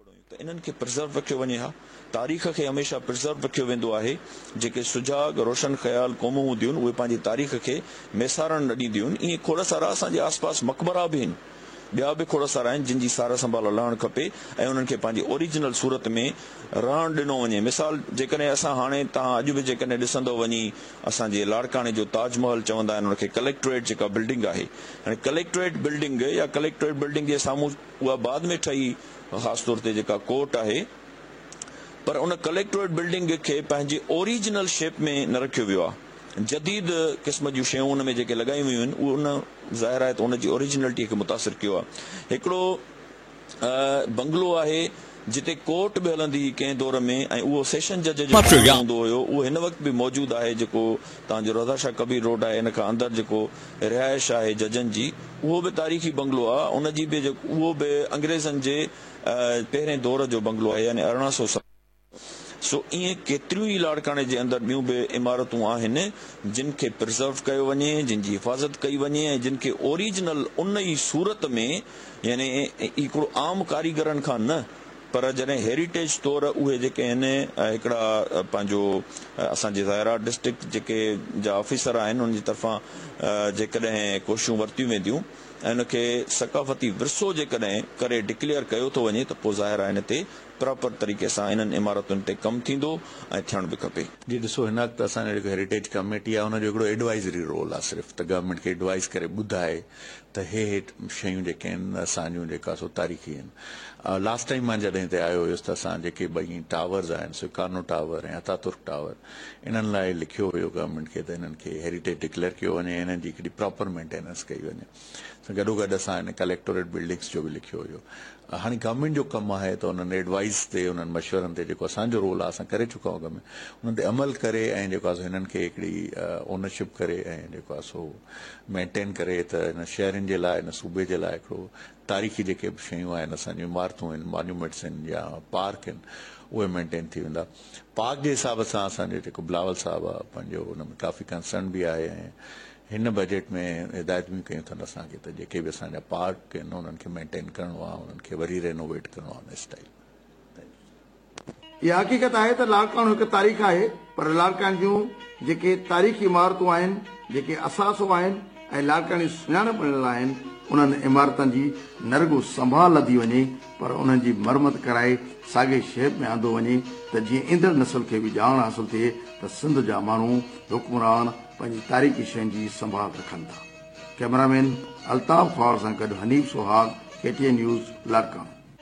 ته انهن کي پرزرو رکيو وڃي ها. تاريخ کي هميشه پرزرو رکيو ويندو آهي. جيڪي سجاڳ، روشن خيال قومون هونديون آهن، اهي پنهنجي تاريخ کي ميسارڻ نه ڏينديون آهن. ائين کوڙ سارا اسان جي آس پاس مقبرا به آهن. ٻيا به کوڙ سارا آهن، جن جي سار سنڀال لهڻ کپي ۽ انهن کي پنهنجي اوريجنل صورت ۾ رهڻ ڏنو وڃي. مثال جيڪڏهن اسان هاڻي توهان اڄ به جيڪڏهن ڏسندؤ وڃي اسان جي لاڙڪاڻي جو تاج محل چوندا آهن ان کي ڪليڪٽريٽ جيڪا بلڊنگ آهي. هاڻي ڪليڪٽريٽ بلڊنگ يا ڪليڪٽريٽ بلڊنگ جي سامهون اها بعد ۾ ٺهي خاص طور تي جيڪا ڪورٽ آهي پر ان ڪليڪٽوريٽ بلڊنگ کي پنهنجي اوريجنل شيپ ۾ نه رکيو ويو آهي جديد قسم جون شيون ان ۾ جيڪي لڳايون ويون آهن اهي ان ظاهر آهي ته ان جي اوريجنلٽي کي متاثر ڪيو آهي هڪڙو بنگلو آهي جتي ڪورٽ به هلندي هئي ڪنهن دور ۾ ۽ اهو سيشن جج جو بنگلو هوندو هيو اهو هن وقت به موجود آهي جيڪو تان جو رضا شاهه ڪبير روڊ آهي ان کان اندر جيڪو رهائش آهي ججن جي اهو به تاريخي بنگلو آ ان جي به جيڪو اهو به انگريزن جي پهرين دور جو بنگلو آهي يعني 1800 سو ائين ڪيتريون ئي لاڙڪاڻي جي اندر ٻيون به عمارتون آهن جن کي پرزرو ڪيو وڃي جن جي حفاظت ڪئي وڃي ۽ جن کي اوريجنل ان ئي صورت ۾ يعني هڪڙو عام ڪاريگرن کان نه پر جڏهن هيريٽيج طور اهي جيڪي آهن هڪڙا پنهنجو اسان جي ظاهر آهي ڊسٽرڪٽ جيڪي جا آفيسر آهن انهن جي طرفان جيڪڏهن ڪوششون ورتيون وينديون ۽ ان کي ثقافتي ورثو جيڪڏهن ڪري ڊڪليئر ڪيو ٿو وڃي ته پوء ظاهر آهي ان تي پراپر طريقي سان انهن عمارتن تي ڪم ٿيندو ۽ ٿيڻ به کپي. جي ڏسو هن وقت اسان جو جيڪو هيريٽيج ڪميٽي آهي ان جو هڪڙو ايڊوائزري رول آهي صرف ته گورنمينٽ کي ايڊوائز ڪري ٻڌائي ته هي هي شيون جيڪي آهن اسان جون جيڪا سو تاريخي آهن لاسٽ ٽائيم مان جڏهن هتي آيو هيس ته اسان جيڪي ٻئي ٽاورز آهن سڪارنو ٽاور ۽ اتاترڪ ٽاور انهن لاء لکيو هيو گورنمينٽ کي ته انهن کي هيريٽيج ڊڪليئر ڪيو وڃي انهن جي هڪڙي پراپر مينٽيننس ڪئي وڃي سان گڏوگڏ اسان هن ڪليڪٽوريٽ بلڊنگس جو به لکيو هيو هاڻي گورنمينٽ جو ڪم آهي ته انهن ايڊوائيز تي انهن مشورن تي جيڪو اسان جو رول آهي اسان ڪري چڪا آهيون اڳ ۾ انهن تي عمل ڪري ۽ جيڪو آهي سو هنن کي هڪڙي اونرشپ ڪري ۽ جيڪو آهي سو مينٽين ڪري ته هن شهرين جي لاء هن صوبي جي لاء هڪڙو تاريخي جيڪي به شيون آهن اسان جون عمارتون آهن مانيومينٽس آهن يا پارڪ آهن اهي مينٽين ٿي ويندا پارڪ جي حساب سان اسان جو جيڪو بلاول صاحب آهي پنهنجو ان ۾ ڪافي ڪنسرن به آهي ۽ هن بجيٽ ۾ هدايت به ڪيون اٿن اسان کي ته جيڪي به اسان جا پارڪ آهن انهن کي مينٽين ڪرڻو آهي انهن کي وري رينوويٽ ڪرڻو آهي ان اسٽائيل ۾. اها حقيقت آهي ته لاڙڪاڻو هڪ تاريخ آهي پر لاڙڪاڻي جون جيڪي تاريخي عمارتون آهن، جيڪي اثاثو آهن ۽ لاڙڪاڻي جي سڃاڻپ بڻيل آهن، انهن عمارتن جي نه رڳو سنڀال لڌي وڃي پر انهن جي مرمت ڪرائي ساڳئي شيپ ۾ آندو وڃي ته جيئن ايندڙ نسل کي به ڄاڻ حاصل ٿئي ته سنڌ جا ماڻهو، حڪمران، پنهنجي تاريخي شين جي سنڀال رکن ٿا. ڪئميرا مين الطاف خواهر سان گڏ Hanif Sohag, K T N news, Larkana.